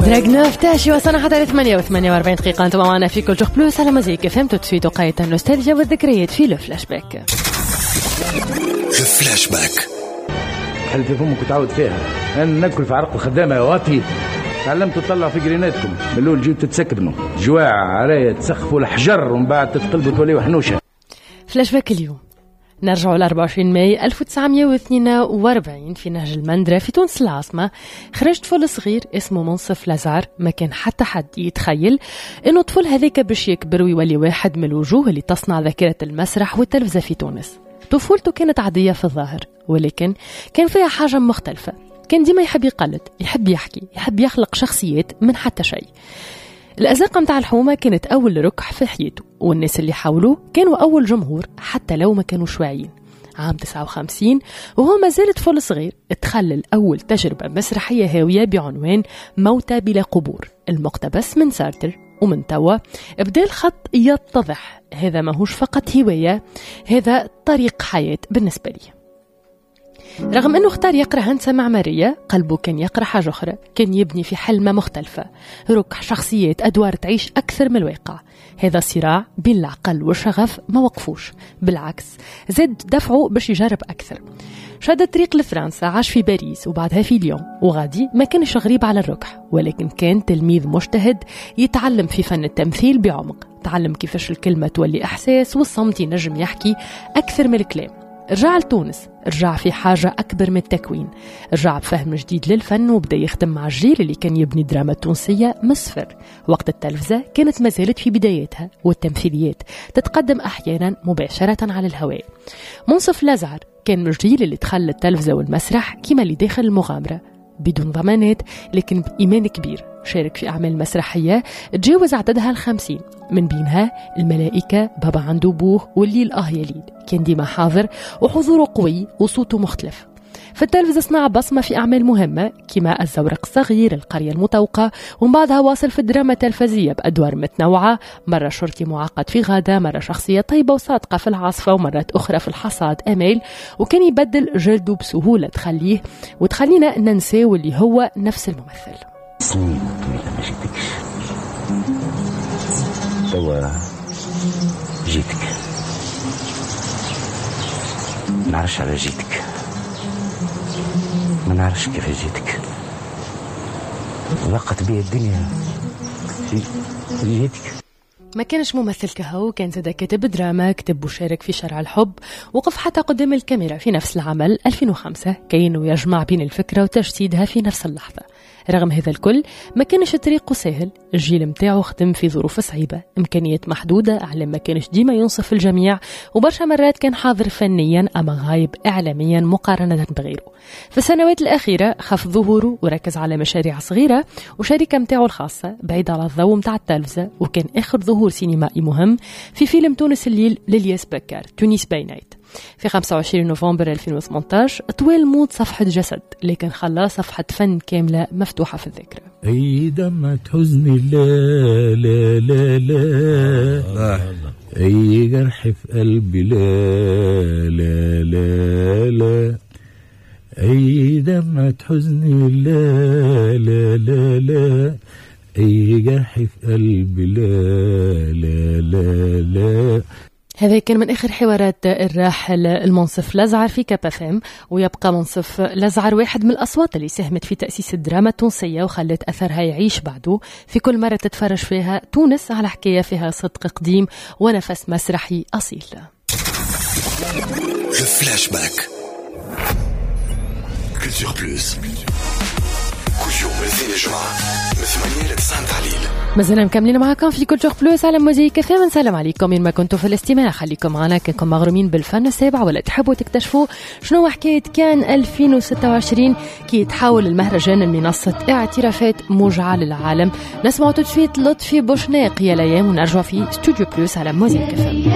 دراغنوف تاشي وصلنا حتى 8 و48 دقيقة. انتم معنا في Culture Plus على Mosaïque FM. tout de suite وقاية النوستالجيا والذكريات في le flashback. فلاش باك. حل في فمك وتعاود فيها. انا ناكل في عرق الخدامة يا واطي. تعلمتوا تطلعوا في قريناتكم من الاول جيتوا تتسكبنوا جواع عرايه تسخفوا الحجر ومن بعد تتقلبوا توليوا حنوشه. فلاش باك اليوم نرجعوا ل 24 ماي 1942 في نهج المندرة في تونس العاصمة. خرج طفل صغير اسمه منصف لزعر. ما كان حتى حد يتخيل انه الطفل هذاك باش يكبر ويولي واحد من الوجوه اللي تصنع ذاكرة المسرح والتلفزة في تونس. طفولته كانت عادية في الظاهر، ولكن كان فيها حاجة مختلفة. كان ديما يحب يقلد، يحب يحكي، يحب يخلق شخصيات من حتى شيء. الأزقة متاع الحومة كانت أول ركح في حياته، والناس اللي حوله كانوا أول جمهور حتى لو ما كانوش واعيين. عام 59 وهو ما زال طفل صغير تخلل أول تجربة مسرحية هاوية بعنوان موتى بلا قبور، المقتبس من سارتر. ومن توا بدا الخط يتضح، هذا ماهوش فقط هواية، هذا طريق حياة بالنسبة لي. رغم أنه اختار يقرأ هندسة معمارية، قلبه كان يقرأ حاجة أخرى، كان يبني في حلمة مختلفة، ركح شخصيات أدوار تعيش أكثر من الواقع. هذا صراع بين العقل والشغف ما وقفوش، بالعكس زاد دفعه باش يجرب أكثر. شد الطريق لفرنسا، عاش في باريس وبعدها في ليون، وغادي ما كانش غريب على الركح، ولكن كان تلميذ مجتهد يتعلم في فن التمثيل بعمق. تعلم كيفاش الكلمة تولي إحساس والصمت ينجم يحكي أكثر من الكلام. رجع لتونس، رجع في حاجة أكبر من التكوين، رجع بفهم جديد للفن وبدأ يخدم مع الجيل اللي كان يبني الدراما التونسية من الصفر. وقت التلفزة كانت ما زالت في بداياتها، والتمثيليات تتقدم أحيانا مباشرة على الهواء. منصف لزعر كان من الجيل اللي دخل التلفزة والمسرح كما اللي داخل المغامرة، بدون ضمانات لكن بإيمان كبير. شارك في أعمال مسرحية تجاوز عددها 50، من بينها الملائكة، بابا عنده بوه، والليل آه يا ليل. كان ديما حاضر وحضوره قوي وصوته مختلف. في التلفزة صنع بصمة في أعمال مهمة كما الزورق الصغير، القرية المطوقة، ومن بعدها واصل في الدراما التلفزية بأدوار متنوعة، مرة شرطي معقد في غادة، مرة شخصية طيبة وصادقة في العاصفة، ومرات أخرى في الحصاد أمال. وكان يبدل جلده بسهولة تخليه وتخلينا ننساه اللي هو نفس الممثل. سنين طويلة ما جيتكش، توا جيتك، ما نعرفش على جيتك، ما نعرفش كيف جيتك، ضاقت بي الدنيا جيتك. ما كانش ممثل كهو، كان زاد كاتب دراما، كتب وشارك في شارع الحب، وقف حتى قدام الكاميرا في نفس العمل 2005، كأنه يجمع بين الفكرة وتجسيدها في نفس اللحظة. رغم هذا الكل ما كانش طريقه سهل، الجيل متاعه خدم في ظروف صعيبة، إمكانيات محدودة، إعلام ما كانش ديما ينصف الجميع، وبرشا مرات كان حاضر فنيا أما غايب إعلاميا مقارنة بغيره. في السنوات الأخيرة خف ظهوره وركز على مشاريع صغيرة وشركة متاعه الخاصة بعيد على الضوء متاع التلفزة، وكان آخر ظهور سينمائي مهم في فيلم تونس الليل للياس بكار، Tunis by Night. في 25 نوفمبر 2018 طوال موت صفحة جسد، لكن خلاه صفحة فن كاملة مفتوحة في الذاكرة. أي دمعة حزني لا لا لا لا، أي جرح في قلبي لا لا لا لا، أي دمعة حزني لا لا لا لا، أي جرح في قلبي لا لا لا لا. هذا كان من آخر حوارات الراحل المنصف لزعر في Cap FM. ويبقى منصف لزعر واحد من الأصوات اللي ساهمت في تأسيس الدراما التونسية وخلت أثرها يعيش بعده. في كل مرة تتفرج فيها تونس على حكاية فيها صدق قديم ونفس مسرحي أصيل. Flashback Culture Plus كل يوم الاثنين الجمعة من 8 ل 9 تاع الليل. مازلنا مكملين معكم في Culture Plus على Mosaïque FM. نسلم عليكم وين ما كنتوا في الاستماع، خليكم معنا كنكم مغرومين بالفن السابع ولا تحبوا تكتشفوا شنو حكاية كان 2026 كي تحول المهرجان لمنصة اعترافات موجعة للعالم. نسمع tout de suite لطفي بوشناق يا ليام ونرجع في Studio Plus على Mosaïque FM.